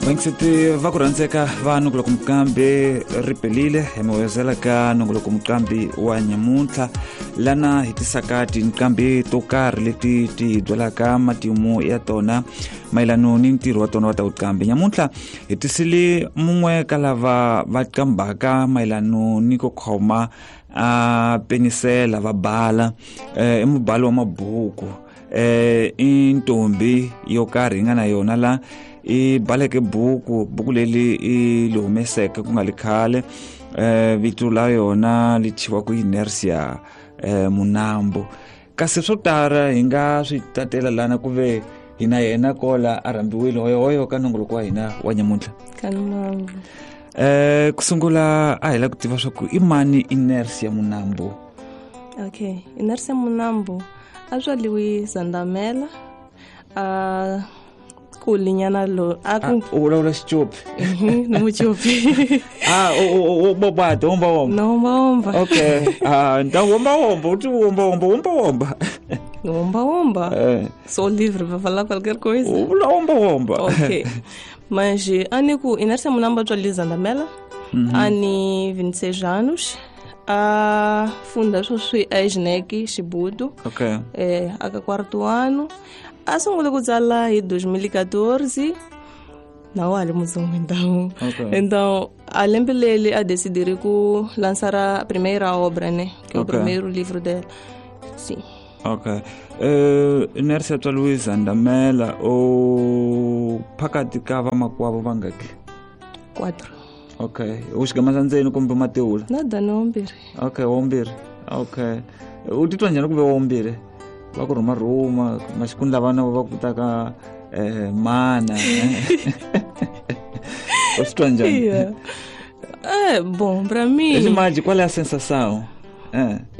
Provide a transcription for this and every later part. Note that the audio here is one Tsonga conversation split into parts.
Vaingiseti va ku rhandzeka va nongoloko muqambi ri pelile hi mi wezela ka nongoloko muqambi wa nyamuntlha, lana hi tisaka tinqambi to karhi leti ti hi byelaka matimu ya tona mayelano ni ntirho wa tona wa ta vuqambi. Nyamuntlha hi tisile mun'we ka lava va qambaka mayelano ni ku khoma a penisela va bala, i mubali wa mabuku, i ntombi yo karhi yi nga na yona la i baleke buku leri i li humeseke ku nga li khale, vito la yona li thyiwa ku Inertia Munambo. Kasi swo tala hi nga swi tatela lana ku ve hina yena kola a rhambiwile hoyohoyo ka nongoloko wa hina wa nyamuntlha. Kanambo. Ku sungula a hi la ku tiva swa ku i mani Inertia Munambo? Okay, Inertia Munambo a tswaliwi Zandamela, a kulinyana lo a ku u vulavula Xicopi? Ni Mucopi. A u bobata womba womba? Na womba womba. Okay, a nta womba womba, u ti womba womba, womba womba. Womba womba. Sou livre para falar qualquer coisa. U vula womba womba. Okay. Mas a ni ku Inertia Munambo tswaliwe Zandamela, a ni 26 anos, a funda sweswi a Ejnec Xibudu. Okay. Aka quarto ano. A sungule ku tsala hi 2014, na wa ha ri mutsongo então. Okay. Então, a lembe leri a decidiri ku lançar a primeira obra, né? Que é o primeiro livro dela. Sim. Okay. Inertia tswaliwe Zandamela, u phakathi ka vamakwavo vangaki? 4. Okay. U xigama xa ndzeni kumbe matewula? Nada, ni wambirhi. Okay, wambirhi. Okay. U titwa njhani ku ve wambirhi? Va ku rhuma rhuma maxikuni lavana va ku taka mana. U swi twa njhani? Yeah. Bom, pra mim. Imagem, qual é a sensação?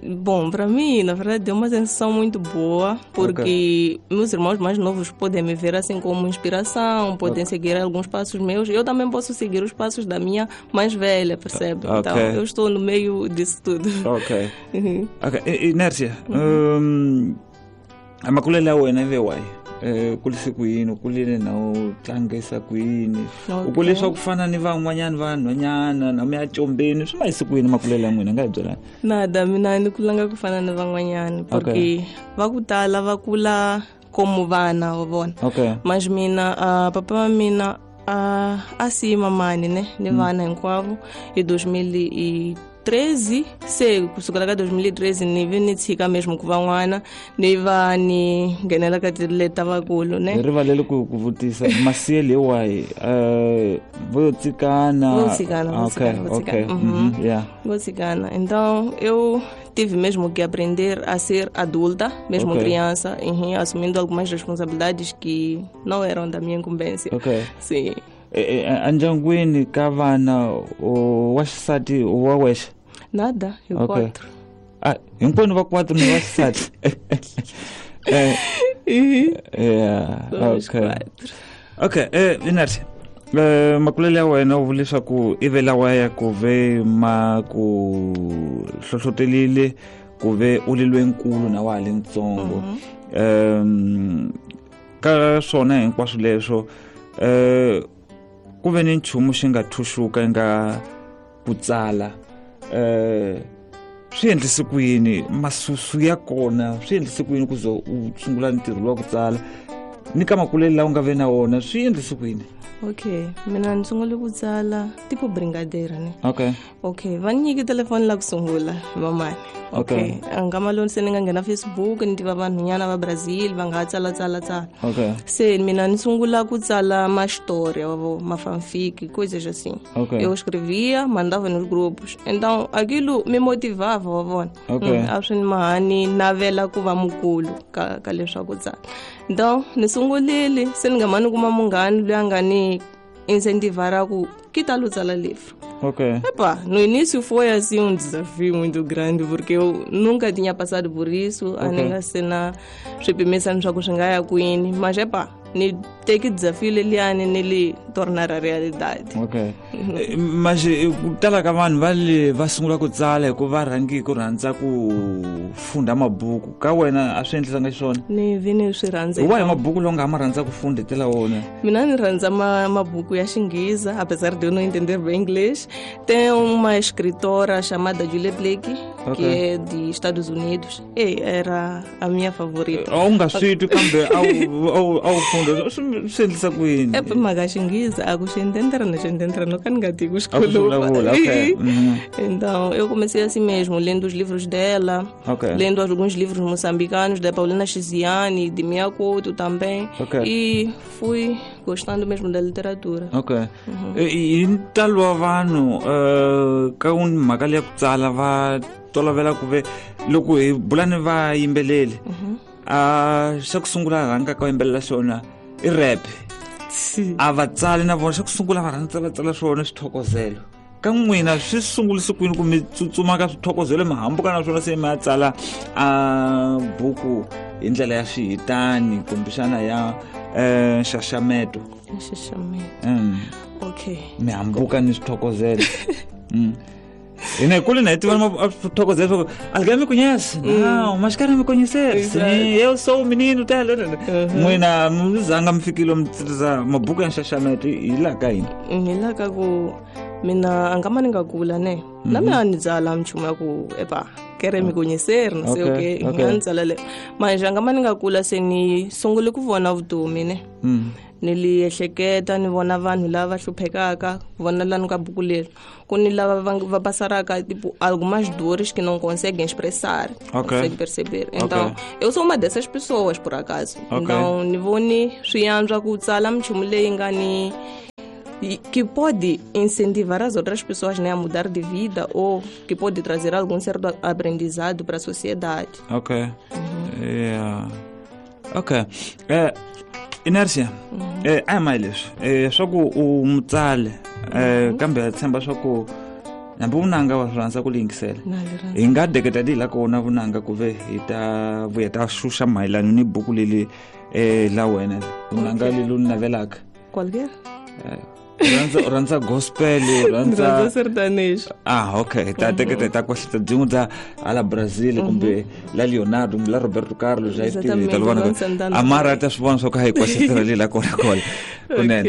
Bom, pra mim, na verdade, é uma sensação muito boa, porque meus irmãos mais novos podem me ver assim como inspiração, podem seguir alguns passos meus. Eu também posso seguir os passos da minha mais velha, percebe? Então, eu estou no meio disso tudo. Ok. Ok. Inertia, a makulele ya wena ive wahi? U kurise ku yini? U kulile na u tlangisa ku yini? U kule swa ku fana ni van'wanyana vanhwanyana na mi ya combeni, swi ma yise ku yini makulele ya n'wina? Nga hi byelani. Nada, mina ni kulanga ku fana ni van'wanyana, porque va ku tala va kula como vana wa vona. Mas mina, papa wa mina, a siyi mamani, ne, ni vana hinkwavo hi 2013, se kusukela ka 2013 ni vi ni tshika mesmo ku va n'wana, ni va ni nghenela ka tileta vakulu, ne. Hi rivalele ku vutisa masiyele hi wahi? Vo yo tsikana? Vo tsikana, vo tsikana, vo tsikana. Vo tsikana. Então eu tive mesmo que aprender a ser adulta, mesmo criança, assumindo algumas responsabilidades que não eram da minha incumbência. Sim. Endyangwini ka vana wa xisati wa wexe? Nada, hi 4. Ah, hinkwenu va 4 ni wa xisati? Yeah, Somos okay. 4. Okay, Inertia, makulele ya wena u vule leswaku i ve lawa ya ku ve ma ku hlohlotelile ku ve u li loyinkulu na wa ha li ntsongo. Ka swona hinkwaswo leswo, ku ve ni nchumu xi nga thuxuka nga ku tsala, swi endlise ku yini? Masusu ya kona swi endlise ku yini ku ze u sungula ntirho lowa ku tsala? Ni ka makulele lawa u nga ve na wona swi endlise ku yini? Okay, mina ni sungule ku tsala tipo brincadeira, ne? Okay. Okay, va ni nyike telefoni la ku sungula hi mamani. Okay. Okay. A nga maloni se ni nga nghena Facebook ni tiva vanhunyana va Brazil va nga tsala tsala tsala. Okay. Se mina ni sungula ku tsala ma história, wa vo, ma fanfic, coisas assim. Okay. Eu escrevia, mandava nos grupos. Então aquilo me motivava, wa vona. Okay. A swi ni mahani navela ku va mukulu ka leswaku tsala. Então ni sungulile se ni nga mani kuma munghana loyi a nga ni incentivar ku que tal o tsala livro? Ok. Epa, no início foi assim um desafio muito grande, porque eu nunca tinha passado por isso, a ni nga se na swipimisa swa ku swi nga ya kwini, mas epa, ni teki desafio leliani ni li tornar a realidade. Ok. Mas ku tala ka vanhu va le va sungula ku tsala hi ku va rhangi ku rhandza ku funda mabuku. Ka wena a swi endlisanga xiswona? Ni vi ni swi rhandza. Hi wahi mabuku lowu nga ma rhandza ku fundhetela wona? Mina ni rhandza mabuku ya Xingheza, apesar de eu não entender bem inglês. Tem uma escritora chamada Julia Blake, que é de Estados Unidos. E era a minha favorita. A wu nga swi twi kambe a wu funda swi endlisa ku yini? E mhaka Xinghezi a ku xi entendera na xi entendera no ka ni nga tivi ku xi khuluma. Okay. Então, eu comecei assim mesmo, lendo os livros dela, lendo alguns livros moçambicanos, da Paulina Chiziane, de Mia Couto também. E fui gostando mesmo da literatura. Okay. Hi ntalo wa vanhu ka mhaka leya ku tsala va tolovela ku ve loko hi bula ni vayimbeleri a xa ku sungula rhanga ka yimbelela xona i rap. A va tsali na vona xa ku sungula va rhandza va tsala swona swithokozelo. Ka n'wina swi sungulise kwini ku mi tsutsuma ka swithokozelo mi hambuka na swona se mi ya tsala a buku hi ndlela ya swihitani kumbexana ya nxaxameto? Nxaxameto. Okay. Mi hambuka ni swithokozelo. Hina hi kule na hi tiva swithokozelo swa ku alguém me conhece? Não, mas querem me conhecer. Sim, eu sou o menino tal. N'wina mi zanga mi fikile mi tirhisa mabuku ya nxaxameto hi laha ka yini? Hi laha ka ku mina a nga ma ni nga kula ne na mina ni tsala minchumu ya ku epa querem me conhecer, não sei o quê, a ni tsala le manje a nga ma ni nga kula se ni sungule ku vona vutomi ne. Ni li ehleketa ni vona vanhu lava hluphekaka, vona lani ka buku leri ku ni lava va passaraka tipo algumas dores que não conseguem expressar, conseguem perceber. Então, eu sou uma dessas pessoas por acaso. Então, ni voni swi antswa ku tsala minchumu leyi nga ni que pode incentivar as outras pessoas, né, a mudar de vida ou que pode trazer algum certo aprendizado para a sociedade. Ok. Yeah. Ok. Inércia, a hi mahi leswi swa ku u mutsali kambe ha tshemba swa ku hambi vunanga wa swi rhandza ku liyingisela hi nga deketa di la kona vunanga ku ve hi ta vuya ta xuxa mayelana ni buku leli la wena vunanga leli u navelaka. Qualquer? Rhandza gospel, rhandza sertanejo. Ah, okay. Ta teketa ta kwahlita byin'we bya hala Brazil kumbe la Leonardo kumbe la Roberto Carlos a yi tivi ta vona amara ta swi vona swa ku a hi kwahlitela leyi la kona kona kunene.